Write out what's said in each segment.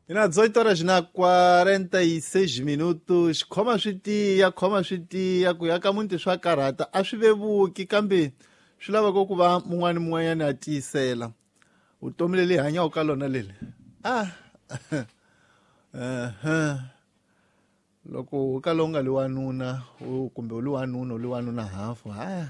Ina 18 horas na 46 minutos. Khoma swi tiya, khoma swi tiya, ku ya ka muti swa karhata a swi vevuki, kambe swi lava ku va mun'wana mun'wanyana a tiyisela. Vutomi leli hi hanyaka ka lona leli. Loko u kala u nga li wanuna, kumbe u li wanuna, u li wanuna hafu, ha.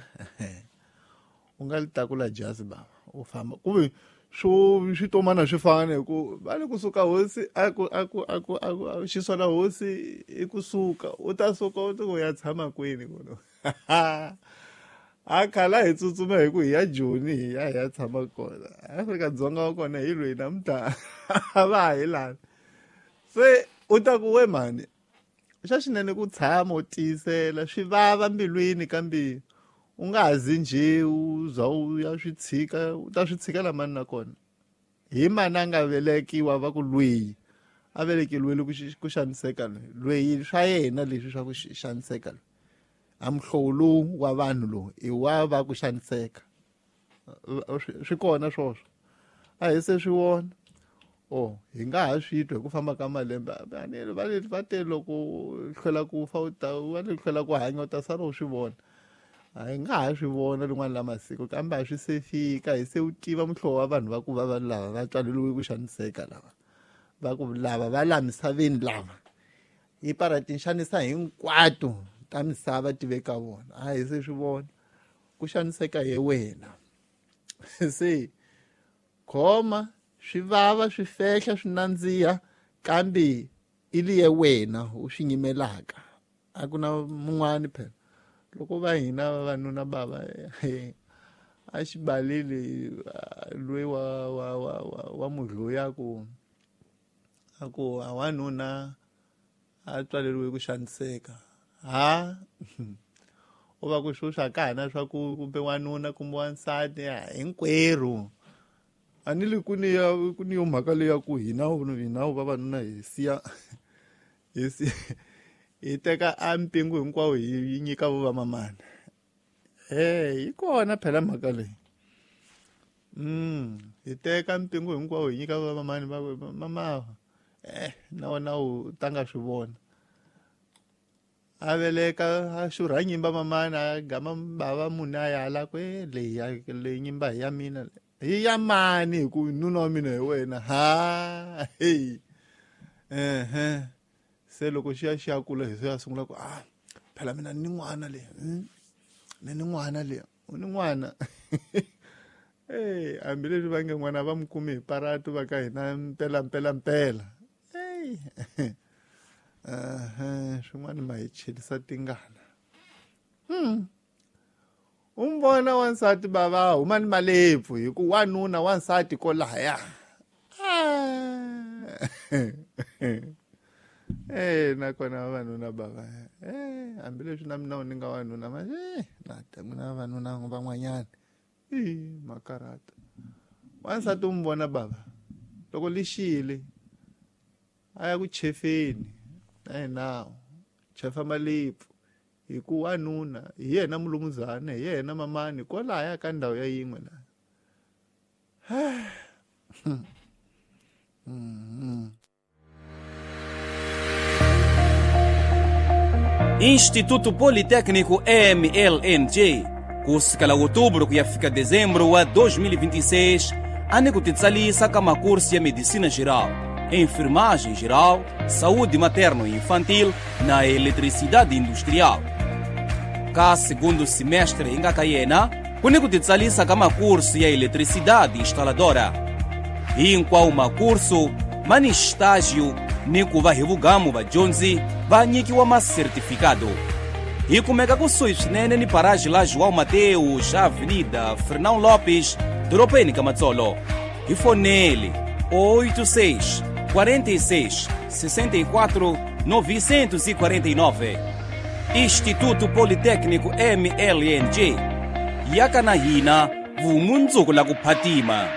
U nga li takula jazi baba, u famba. Kuve swo switomana swi fana hi ku va le kusuka hosi a ku a ku a ku a ku xisola hosi i kusuka u ta suka u ku ya tshama kwini kuno. A khala hi tsutsuma hi ku hi ya Joni hi ya hi ya tshama kona. Afrika-Dzonga wa kona hi lweyi namuntlha a va ha hi lavi. Se u ta ku we mhani xa xinene ku tshama u tiyisela swi vava mbilwini kambe u nga ha zi njhe u za u ya swi tshika, u ta swi tshikela mani na kona. Hi mani a nga velekiwa va ku lweyi a velekeriwile ku xaniseka loyi, lweyi swa yena leswi swa ku xaniseka loyi. A muhlovo lowu wa vanhu lowu i wa va ku xaniseka. Swi kona swoswo. A hi se swi vona. Oh, hi nga ha swi twa hi ku famba ka malembe. A ni va le va te loko u hlwela ku fa u ta, va le hlwela ku hanya u ta sala u swi vona. A hi nga ha swi vona rin'wana la masiku, kambe a swi se fika, hi se u tiva muhlovo wa vanhu va ku va vanhu lava va tswaleriwe ku xaniseka lava. Va ku lava va la misaveni lava. Hi para tinxanisa hinkwato ta misava ti ve ka vona. A hi se swi vona. Ku xaniseka hi wena. Se khoma swi vava, swi fehla, swi nandziha, kambe i liye wena u swi nyimelaka. A ku na mun'wani phela. Loko va hina vavanuna bava, a xibaleli loyi wa mudloyi a ku, a ku a wanuna a tswaleriwe ku xaniseka. Ha? U va ku swo swa ka hina swa ku kumbe wanuna kumbe wansati, hinkwerhu. A ni li ku ni ya, ku ni yo mhaka leyi ya ku hina, hina vavanuna hi siya, hi siya, hi teka a mpingu hinkwawo hi nyika vo vamamana. Yi kona phela mhaka leyi. Hi teka mpingu hinkwawo hi nyika vo vamamani va mama. Na wena u ta nga swi vona. A veleka a xurha nyimba mamana, a gama bava munhu a ya hala ku, leyi ya, leyi nyimba hi ya mina. Hi ya mani hi ku nuna wa mina hi wena. Ha, hey. Se loko xi ya xi ya kula hi se ya sungula ku, phela mina ni n'wana le. Ni ni n'wana le. U ni n'wana. Hambileswi va nge n'wana va n'wi kumi hi paratu va ka hina mpela, mpela, mpela. Hey. Swin'wana ma hi chelisa tingana. U n'wi vona wansati bava huma ni malepfu hi ku wanuna wansati kolaya. Nakona vavanuna bava. Hambileswi na mina ni nga wanuna manje, na ta n'wina vavanuna van'wanyana. Makarata. Wansati u n'wi vona bava loko lixile a ya ku chefeni na yena chefa malepfu hi ku wanuna hi yena mulumuzana hi yena mamani kwalaya ka ndhawu ya yin'we la. Instituto Politécnico MLNG, kusukela outubro ku ya fika dezembro wa 2026, ane ku titsalisa ka makurso ya medicina geral, enfermagem geral, saúde materno e infantil na eletricidade industrial. Ka segundo semestre inga ka yena, kuni ku titsalisa ka makurso ya eletricidade instaladora. Hinkwawo makurso mani estágio ni ku va hi vugamu vadyondzi va nyikiwa masertifikado. Hi kumeka kusuhi swinene ni paraji la João Mateus, Avenida Fernão Lopes, dorobeni ka Matsolo. Hi fonele 86 46 64 949. Instituto Politécnico MLNG. Yaka na hina vumundzuku la ku phatima.